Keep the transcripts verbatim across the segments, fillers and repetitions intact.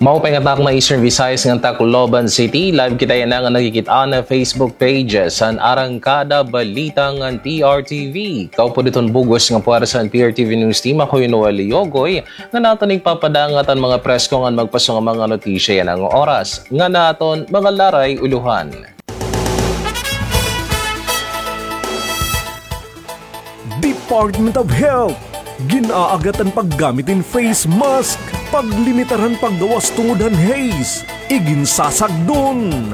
Maupay nga takna, Eastern Visayas ngan Tacloban City. Live kita yana nga nakikit-an ha Facebook pages han Arangkada Balita ngan P R T V. Kaupod hiton bug-os nga puwersa han P R T V News Team, ako hi Noel Yogoy, ngan aton igpapadangat an mga presko ngan magpaso nga mga notisya yana nga oras. Ngan aton mga laray ulohan. Department of Health, gin-aaghat an paggamit hin face mask, paglimitar han paggawas tungod han haze, iginsasagdon.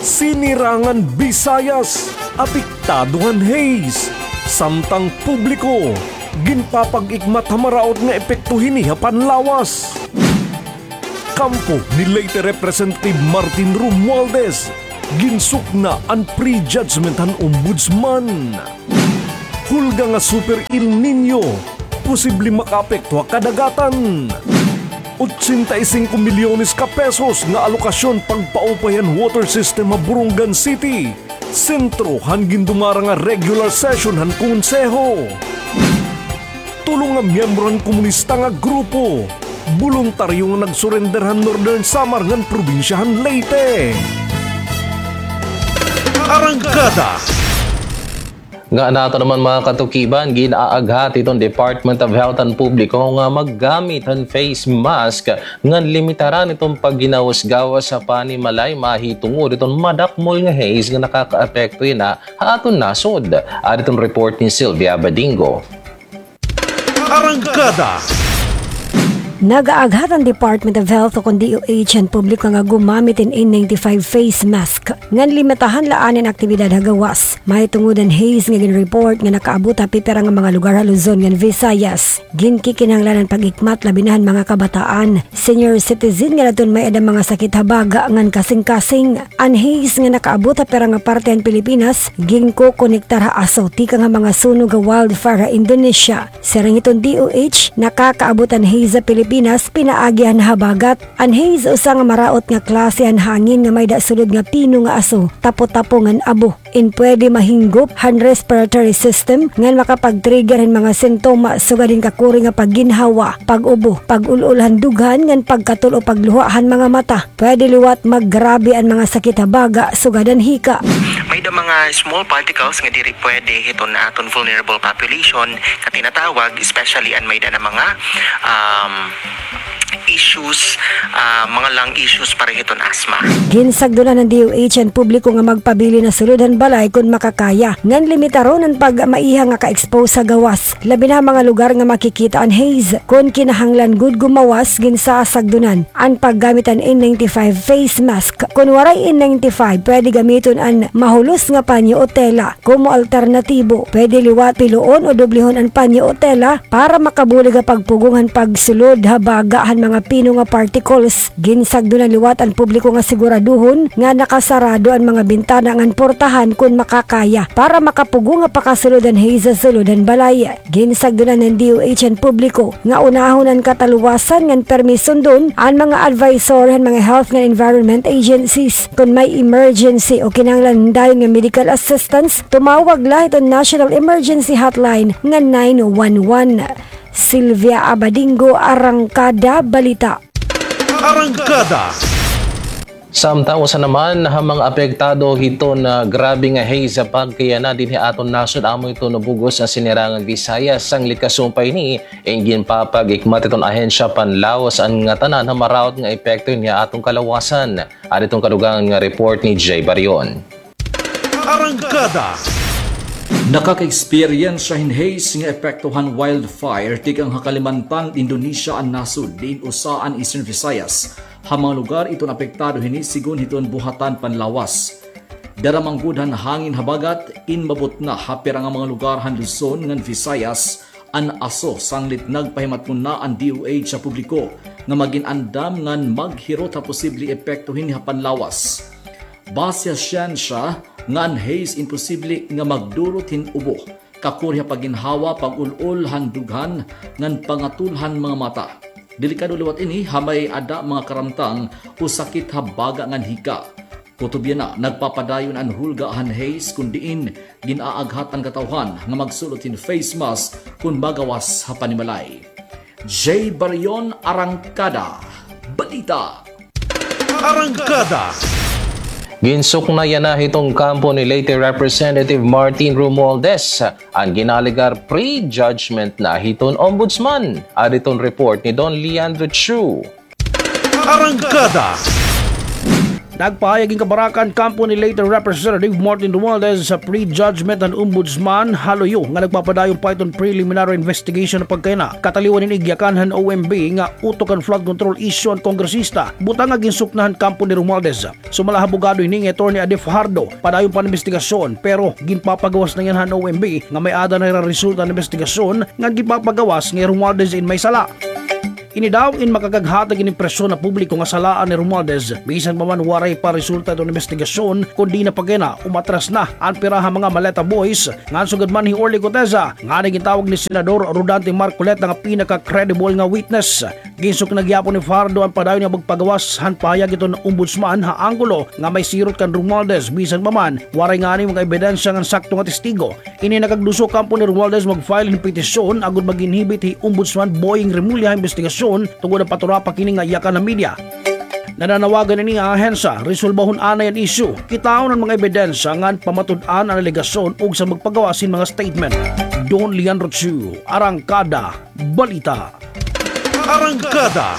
Sinirangan Visayas, apektado han haze, samtang publiko, ginpapag-ikmat ha maraot nga epekto hini ha panlawas. Kampo ni Leyte Representative Martin Romualdez, ginsukna an prejudgment han Ombudsman. Hulga nga Super El Niño, posible makaapekto ha kadagatan. Ochenta y cinco milyones ka pesos nga alokasyon pagpaupay han water system ha Borongan City. Sentro han gindumara nga regular session han Konseho. Tulo nga miyembro han komunista nga grupo, boluntaryo nga nagsurrender han Northern Samar ngan probinsya han Leyte. Arangkada. Nga nato naman, mga katukiban, gin-aaghat hiton Department of Health an publiko nga maggamit han face mask ngan limitaran iton pagginawos-gawas ha panimalay mahitungod hiton madakmol nga haze nga nakakaapekto yana ha aton nasod. Adi iton report ni Sylvia Badingo. Arangkada. Nag-aaghat an Department of Health o kon D O H an publiko nga gumamit hin N ninety-five face mask ngan limitahan la anay an aktibidad ha gawas mahitungod han haze nga gin-report nga nakaabot ha pipira nga mga lugar ha Luzon ngan Visayas. Ginkikinahanglan an pag-ikmat labi na han mga kabataan, senior citizen ngan adton may-ada mga sakit ha baga ngan kasingkasing. An haze nga nakaabot ha pira nga parte han Pilipinas ginkokonektar ha aso tikang ha mga sunog ha wildfire ha Indonesia. Siring hiton D O H, nakakaabot an haze ha Pilipinas pinaagi han habagat. An haze usa nga maraot nga klase han hangin nga may-ada sulod nga pino nga aso, tapo-tapo ngan abo. In pwede mahinggop han respiratory system ngan makapag-trigger hin mga sintoma sugad hin kakuri nga pagginhawa, pag-ubo, pag-ul-ol han dughan ngan pagkatul o pagluha han mga mata. Pwede liwat maggrabe an mga sakit ha baga sugad han hika. May-ada mga small particles nga diri pwede hiton aton vulnerable population nga tinatawag, especially an may-ada na mga, um, issues, ah, mga lung issues para hiton asthma. Ginsagdonan han D O H an publiko nga magpabilin ha sulod han balay kon makakaya, ngan limitaron an pagmaiha nga ka-expose ha gawas, labi na ha mga lugar nga makikita an haze. Kon kinahanglan gud gumawas, ginsasagdonan an paggamit han N ninety-five face mask. Kon waray N ninety-five, pwede gamiton an mahulos nga panyo o tela. Komo alternatibo, pwede liwat piloon o doblehon an panyo o tela para makabulig ha pagpugong han pagsulod ha baga han mga pino nga particles. Ginsagdonan liwat an publiko nga siguraduhon nga nakasarado an mga bintana ngan portahan kon makakaya para makapugong ha pakasulod han haze ha sulod han balay. Ginsagdonan han D O H an publiko nga unahon an kataluwasan ngan pirmi sundon an mga advisory han mga health ngan environment agencies. Kon may emergency o kinahanglan dayon nga medical assistance, tumawag la hiton National Emergency Hotline nga nine one one. Sylvia Abadingo, Arangkada Balita. Arangkada. Samtang usa naman ha mga apektado hiton grabe nga haze ha pagkayana dinhi ha aton nasod, amo iton bug-os nga Sinirangan Visayas. Sanglit kasumpay hini, ginpapag-ikmat hiton ahensya panlawas an ngatanan ha maraot nga epekto hini ha aton kalawasan. Adi iton kadugangan nga report ni Jay Barion. Arangkada. Nakaka-eksperyensya hin haze nga epekto han wildfire tikang ha Kalimantan, Indonesia an nasod, diin usa an Eastern Visayas ha mga lugar iton apektado hini, sigon hiton buhatan panlawas. Dara man gud han hangin habagat, inmabot na ha pira nga mga lugar han Luzon ngan Visayas an aso, sanglit nagpahimatngon na an D O H sa publiko nga magin-andam ngan maghirot ha posible epekto hini ha panlawas. Base ha syensya nga an haze imposible nga magdurot hin ubo, kakuri ha pagginhawa, pag-ul-ol han dughan, ngan pangatul han mga mata. Delikado liwat ini ha may-ada mga karamtang o sakit ha baga ngan hika. Kutob yana, nagpapadayon an hulga han haze kon diin gin-aaghat an katawhan nga magsulot hin face mask kon magawas ha panimalay. Jay Barion, Arangkada Balita. Arangkada. Ginsuknayan na hiton kampo ni Leyte Representative Martin Romualdez an ginalegar prejudgment na hiton ombudsman. Adi iton report ni Don Leandro Chu. Arangkada. Nagpahayag in kabarakan kampo ni Leyte Representative Martin Romualdez sa prejudgment han ombudsman ha luyo nga nagpapadayon pa iton preliminary investigation pagkayana kataliwan hin igyakan han O M B nga utok han flood control issue an kongresista, butang nga ginsukna han kampo ni Romualdez. Sumala ha abogado hini nga Attorney Ade Fajardo, padayon pa an imbestigasyon, pero ginpapagawas na yana han O M B nga may-ada na hira resulta han imbestigasyon ngan ginpapagawas nga hi Romualdez in may sala. Ini daw in makakaghatag hin impresyon ha publiko nga salaan hi Romualdez, bisan pa man waray pa resulta iton imbestigasyon, kundi na pagkayana umatras na an pira ha mga Maleta Boys, ngan sugad man hi Orly Guteza, nganhi gintawag ni Senador Rodante Marcoleta nga pinaka-credible nga witness. Ginsukna gihapon ni Fajardo an padayon nga pagpagawas han pahayag hiton ombudsman ha anggulo nga may sirot kan Romualdez, bisan pa man waray ngani mga ebidensya ngan sakto nga testigo. Ini nakagduso kampo ni Romualdez mag-file hin petisyon agod mag-inhibit hi Ombudsman Boying Remulla ha imbestigasyon tungod han paturapak hini nga yakan han media. Nananawagan ini nga ahensya, resolbahon anay an isyu, kitaon an mga ebidensya ngan pamatud-an an alegasyon ugsa magpagawas hin mga statement. Don Leandro Chu, Arangkada Balita. Arangkada.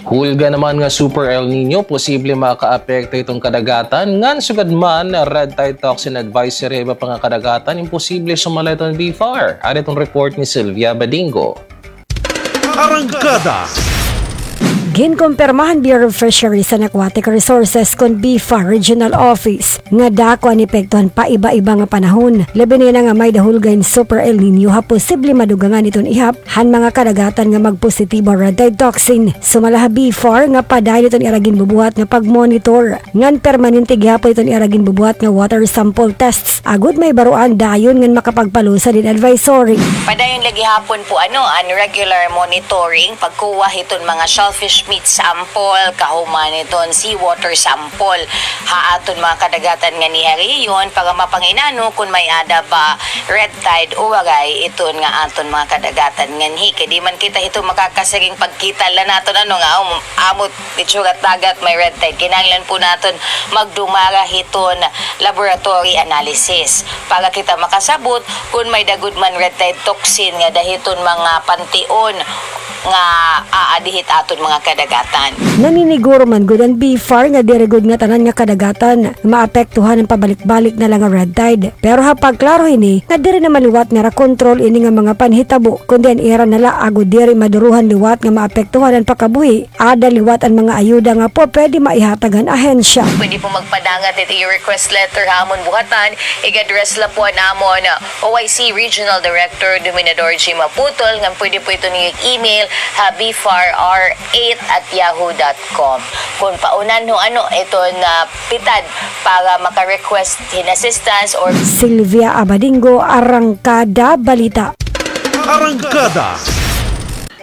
Hulga naman nga Super El Niño, posible makaapekto hiton kadagatan. Ngan sugad man, red tide toxin advisory ha iba pa nga kadagatan, imposible sumala hiton BFAR. Adi iton report ni Sylvia Badingo. Arangkada. Ginkumpirma han Bureau of Fisheries and Aquatic Resources kon BFAR Regional Office nga dako an epekto han paiba-iba nga panahon, labi na yana nga may-ada hulga hin Super El Niño ha posible madugangan hiton ihap han mga kadagatan nga magpositibo ha red tide toxin. Sumala ha BFAR nga padayon iton ira ginbubuhat nga pagmonitor ngan permanente gihapon iton ira ginbubuhat nga water sample tests agod mahibaroan dayon ngan makapagpalusad hin advisory. Padayon la gihapon po, ano, an regular monitoring, pagkuha hiton mga shellfish meat sample, kahuman hiton seawater sample ha aton mga kadagatan nganhi ha rehiyon para mapangin-ano kon may-ada ba red tide o waray iton nga aton mga kadagatan nganhi. Kay di man kita hito makakasiring pagkita la naton, ano, nga, um, amo it surat dagat may red tide. Kinahanglan po naton magdumara hiton laboratory analysis para kita makasabot kon may-ada gud man red tide toxin nga-ada hiton mga pantion nga aadi hit aton mga kadagatan. Naniniguro man gud an BFAR nga diri gud ngatanan nga kadagatan maapektuhan han pabalik-balik na la nga red tide. Pero ha pagklaro hini nga diri na man liwat nga ira kontrol ini nga mga panhitabo, kundi an ira na la agod diri maduruhan liwat nga maapektuhan an pakabuhi, ada liwat an mga ayuda nga pupwede maihatag han ahensya. Pwede po magpadangat it iyo request letter ha amon buhatan. Ig-address la po an amon O I C Regional Director Dominador G. Maputol, ngan pwede po ito niyo email ha B F A R R eight at yahoo dot com. Kon paunhan ho, ano, iton, ah, pitad para maka-request hin assistance or Sylvia Abadingo, Arangkada Balita. Arangkada.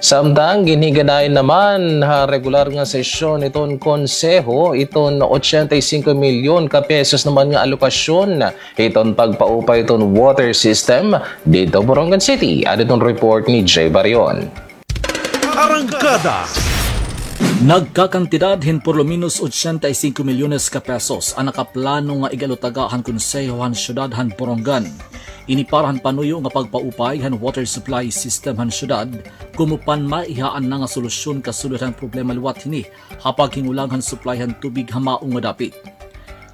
Samtang ginhiganayan naman ha regular nga sesyon iton konseho, iton ochenta y cinco milyon ka pesos naman nga alokasyon iton pagpaupay iton water system didto Borongan City. Adi iton report ni Jay Barion. Arangkada. Nagkakantidad hin por lo menos ochenta y cinco milyones ka pesos an nakaplano nga igalutaga han konseho han syudad han Borongan. Ini para han panuyo nga pagpaupay han water supply system han syudad, komo pan maihaan na nga solusyon kasulod han problema liwat hini ha paghingulang han supply han tubig ha mao nga dapit.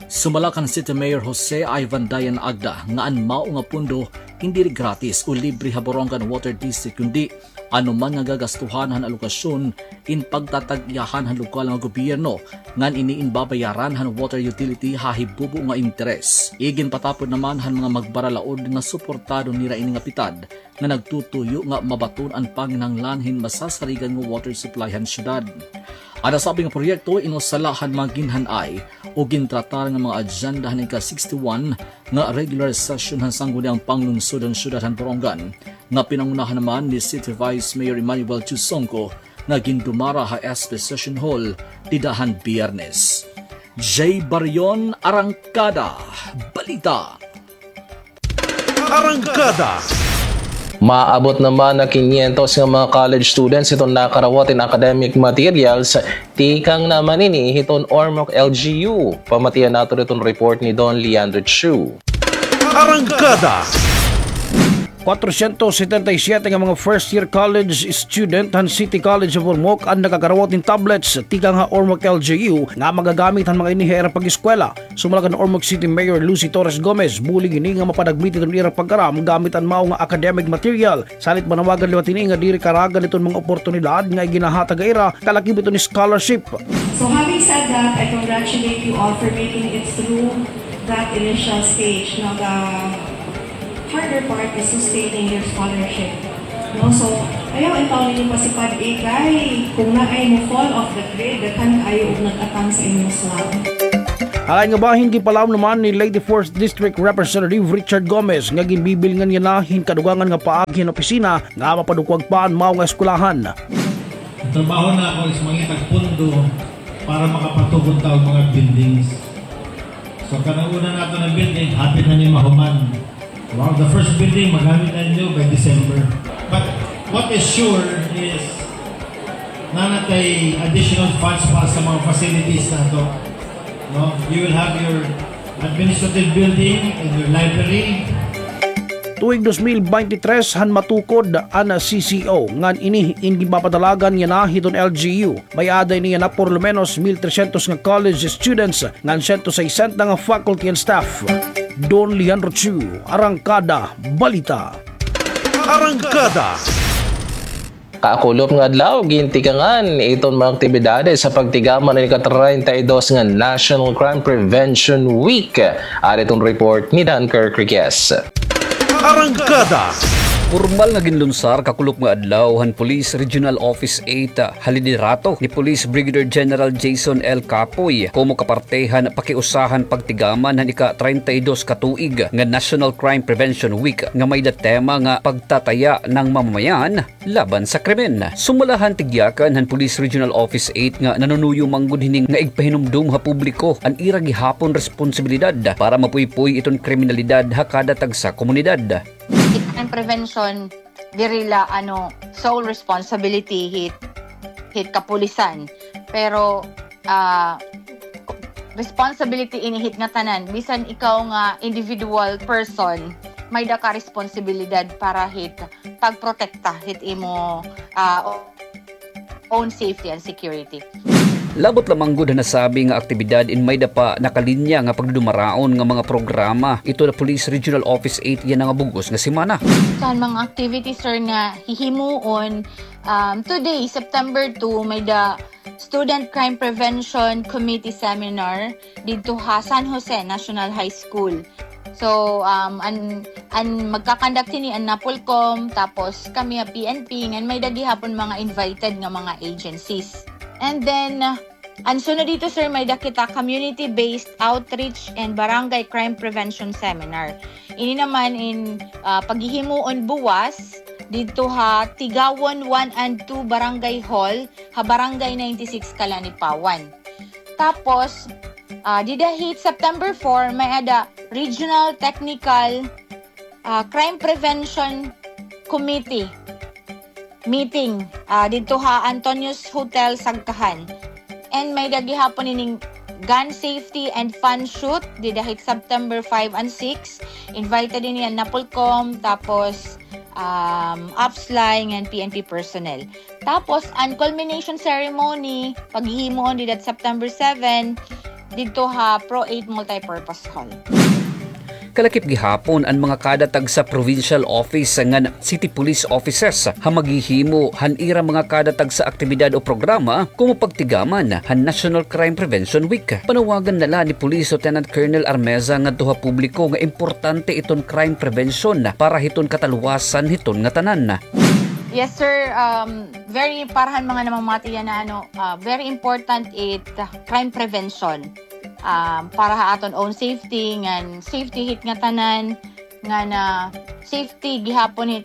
Sumala kan City Mayor Jose Ivan Dayan Agda nga an mao nga pondo indi gratis o libre ha Borongan Water District, kundi ano man nga gagastuhan han alokasyon in pagtatag-iyahan han lokal nga gobyerno, ngan ini in babayaran han water utility ha hibubo nga interes. Iginpatapod naman han mga magbaralaod nga suportado nira ini nga pitad nga nagtutuyo nga mabaton an panginahanglan hin masasarigan nga water supply han syudad. An nasabi nga proyekto in usa la han mga ginhan-ay o gintratar nga mga adyenda han ika-sixty-one nga regular session han Sangguniang Panglungsod han Syudad han Borongan, nga pinangunahan naman ni City Vice Mayor Emmanuel Chusongco, nga gindumara ha S P Session Hall dida han Biyernes. Jay Barion, Arangkada Balita. Arangkada. Maabot naman nga kinyentos nga mga college students iton nakarawat hin academic materials tikang naman ini hiton Ormoc L G U. Pamatian naton iton report ni Don Leandro Chu. Arangkada. Kwatrosyentos setenta y siyete nga mga first year college student han City College of Ormoc an nakakarawat hin tablets tikang ha Ormoc L G U nga magagamit han mga ini ha ira pag-eskwela. Sumala kan Ormoc City Mayor Lucy Torres Gomez, bulig ini nga mapanagmit iton ira pag-aram gamit an mao nga academic material. Salit manawagan liwat ini nga diri karagan iton mga oportunidad nga iginahatag ha ira kalakip iton scholarship. So having said that, I congratulate you all for making it through that initial stage. No, the harder part is sustaining your scholarship. No, so ayaw intawon ninyo pasipad-i kay kung naay mo-fall off the grid, daghan kaayo og nag-atang sa inyong slot. Ha lain nga bahin, ginpalaom naman ni Leyte Fourth District Representative Richard Gomez nga ginbibilngan niya na hin kadugangan nga paagi han opisina nga mapadukwag pa an mao nga eskwelahan. An trabaho nako is mangitag pondo para makapatugon ta og mga buildings. So, kanang una nato nga building, hapit na ni mahuman. Wow, the first building, magamit na ninyo by December. But what is sure is, naa na tay additional funds para sa mga facilities nato. No? You will have your administrative building and your library. Tuig dos mil beintitres han matukod an C C O ngan ini in ginpapadalagan niya na hiton L G U. May-ada ini nga por lo menos mil tresyentos nga college students ngan siyento sesenta nga faculty and staff. Don Leandro Chu, Arangkada Balita. Arangkada. Kakulop nga adlaw, gintikangan iton mga aktibidades sa pagtigaman han ika-treinta y dos nga National Crime Prevention Week. Ari iton report ni Dan Kirk Riquez. Arangkada. Pormal nga ginlunsar kakulop nga adlaw han Police Regional Office eight, ha liderato ni Police Brigadier General Jason L. Capoy, komo kaparte han pakiusa han pagtigaman han ika-treinta y dos ka tuig nga National Crime Prevention Week nga may-ada tema nga Pagtataya ng Mamamayan Laban sa Krimen. Sumala han tigyakan han Police Regional Office eight nga nanunuyo man gud hini nga igpahinumdom ha publiko an ira gihapon responsibilidad para mapuypoy iton kriminalidad ha kada tagsa komunidad. Crime prevention, diri la, ano, sole responsibility hit, hit kapulisan. Pero, ah, responsibility ini hit ngatanan. Bisan ikaw nga individual person, may-ada ka responsibilidad para hit pagprotekta hit imo, ah, own safety and security. Labot la man gud han nasabi nga aktibidad in may-ada pa nakalinya nga pagdudumaraon nga mga programa iton Police Regional Office eight yana nga bug-os nga semana. Sa mga activities, sir, nga hihimuon, um, today, September two, may-ada Student Crime Prevention Committee Seminar didto ha San Jose National High School. So, um, an, an magka-conduct hini an NAPOLCOM, tapos kami ha P N P, ngan may-ada gihapon mga invited nga mga agencies. And then, uh, an sunod didto, sir, may-ada kita community-based outreach and barangay crime prevention seminar. Ini naman in, uh, paghihimuon buwas didto ha Tigawon one and two Barangay Hall, ha Barangay ninety-six, Calanipawan. Tapos, ah, dida hit September four, may-ada Regional Technical, ah, Crime Prevention Committee meeting, ah, didto ha Antonio's Hotel, Sagkahan. And may-ada gihapon ining gun safety and fun shoot dida hit September five and six. Invited ini an NAPOLCOM, tapos, um, OPSLAI ngan P N P personnel. Tapos, an culmination ceremony, paghihimuon dida September seven, didto ha Pro eight Multipurpose Hall. Kalakip gihapon an mga kada tagsa provincial office ngan city police offices ha maghihimo han ira mga kada tagsa aktibidad o programa komo pagtigaman han National Crime Prevention Week. Panawagan na la ni Police Lieutenant Colonel Armeza ngadto ha publiko nga importante iton crime prevention para hiton katalwasan hiton ngatanan. Yes, sir. Um, very, para han mga namamati yana, ano, ah, very important it, ah, crime prevention. Um, para ha aton own safety, ngan safety hit ngatanan, ngan safety gihapon hit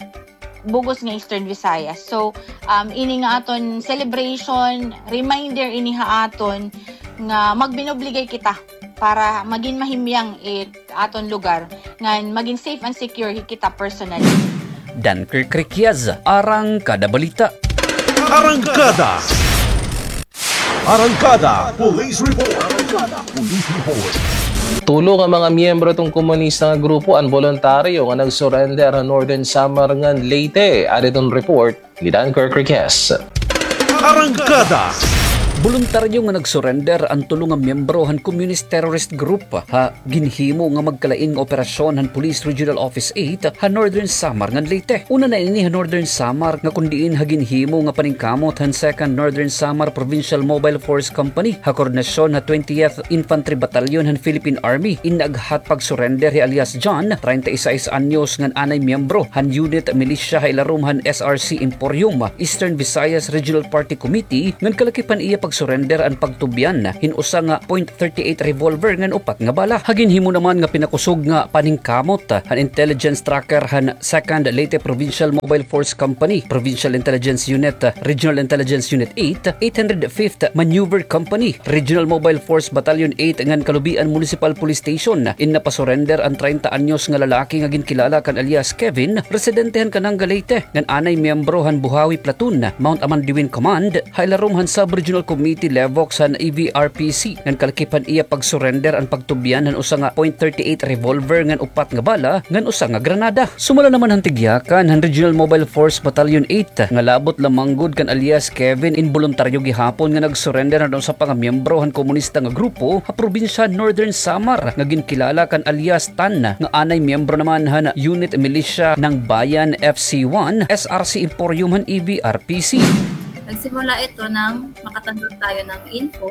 bug-os nga Eastern Visayas. So, um, ini nga aton celebration, reminder ini ha aton nga magbinuligay kita para magin mahimyang it aton lugar, ngan magin safe and secure hit kita personally. Dunkirk Requias, Arangkada Balita. Arangkada. Arangkada Police Report. Arangkada Police Report. Tulo nga mga miyembro hiton komunista nga grupo an boluntaryo nga nag-surrender ha Northern Samar ngan Leyte. Adi iton report ni Dunkirk Requias. Arangkada. Boluntaryo nga nag-surrender an tulo nga miyembro han Communist Terrorist Group ha ginhimo nga magkalain nga operasyon han Police Regional Office eight ha Northern Samar ngan Leyte. Una na ini ha Northern Samar nga kon diin ha ginhimo nga paningkamot han Second Northern Samar Provincial Mobile Force Company ha koordinasyon ha twentieth Infantry Battalion han Philippine Army in naghat pag-surrender hi alias John, treinta y seis anyos, ngan anay miyembro han unit militia ha ilarom han S R C Emporium, Eastern Visayas Regional Party Committee, ngan kalakip han iya pag-surrender an pagtubyan hin usa nga point thirty-eight revolver ngan upat nga bala. Ha ginhimo naman nga pinakusog nga paningkamot han intelligence tracker han Second Leyte Provincial Mobile Force Company, Provincial Intelligence Unit, Regional Intelligence Unit eight, eight hundred fifth Maneuver Company, Regional Mobile Force Battalion eight ngan Calubian Municipal Police Station, in napasurrender an treinta anyos nga lalaki nga ginkilala kan alias Kevin, residente han Cananga, Leyte, ngan anay miyembro han Buhawi Platoon, Mount Amandiwin Command, ha ilarom han Sub-Regional Committee Levox han E V R P C, ngan kalakip han iya pag-surrender an pagtubyan han usa nga point thirty-eight revolver ngan upat nga bala ngan usa nga granada. Sumala naman han tigyakan han Regional Mobile Force Battalion eight nga labot la man gud kan alias Kevin in boluntaryo gihapon nga nag-surrender han usa pa nga miyembro han komunista nga grupo ha probinsya Northern Samar nga ginkilala kan alias Tan nga anay miyembro naman han Unit Militia ng Bayan F C one, S R C Emporium han E V R P C. Nagsimula ito nang makatanggap tayo ng info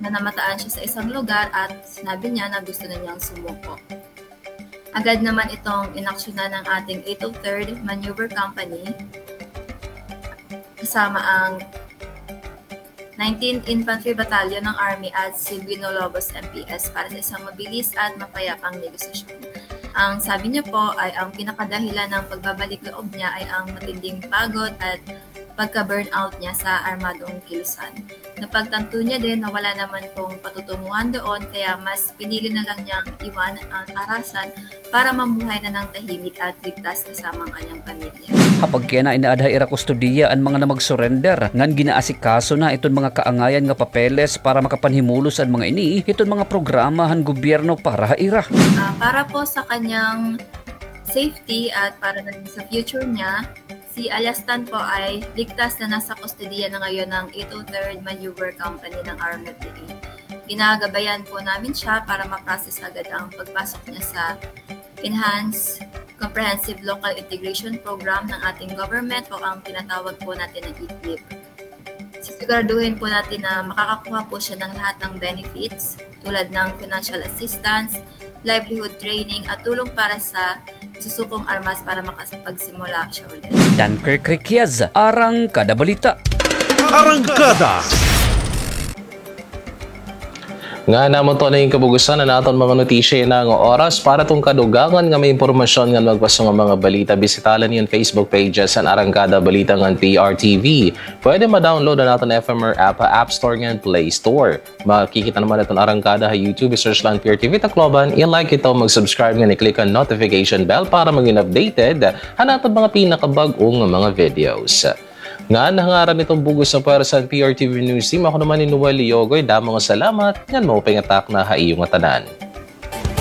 na namataan siya sa isang lugar at sinabi niya na gusto na niyang sumuko. Agad naman itong inaksyonan ng ating eight oh third Maneuver Company kasama ang nineteenth Infantry Battalion ng Army at Silvino Lobos M P S para sa isang mabilis at mapayapang negosasyon. Ang sabi niya po ay ang pinakadahilan ng pagbabalik loob niya ay ang matinding pagod at pagka-burnout niya sa armadong kilusan. Napagtanto niya din na wala naman pong patutunguhan doon, kaya mas pinili na lang niyang iwan ang arasan para mamuhay na ng tahimik at ligtas kasama ang kanyang pamilya. Ha pagkiana, inaada ha ira kustodiya an mga namagsurrender, ngan ginaasikaso na iton mga kaangayan nga papeles para makapanhimulos an mga ini hiton mga programa han gobyerno para ha ira. Ah, para po sa kanyang safety at para na rin sa future niya, si alias Tan po ay ligtas na nasa kustodiya na ngayon ng eight oh third Maneuver Company ng R M F D A. Ginagabayan po namin siya para ma-process agad ang pagpasok niya sa Enhanced Comprehensive Local Integration Program ng ating government o ang tinatawag po natin na E P I P. Sisiguraduhin po natin na makakakuha po siya ng lahat ng benefits tulad ng financial assistance, livelihood training at tulong para sa susukong armas para makapagsimula siya ulit. Dunkirk Requias, Arangkada Balita. Arangkada. Ngan amo ito na it kabug-osan han aton mga notisya yana nga oras. Para ha aton kadugangan nga mga impormasyon ngan magpaso nga mga balita, bisita la niyo an Facebook pages han Arangkada Balita ngan P R T V. Pwede ma-download an aton F M R app ha App Store ngan Play Store. Makikita naman an aton Arangkada ha YouTube, i-search la an P R T V Tacloban, i-like ito, mag-subscribe ngan i-click an notification bell para maging updated han aton mga pinakabag-o nga mga videos. Ngan ha ngaran hiton bug-os nga pwersa han P R T V News Team, ako naman hi Noel Leogoy, damo nga salamat, ngan maupay nga takna ha iyo ngatanan.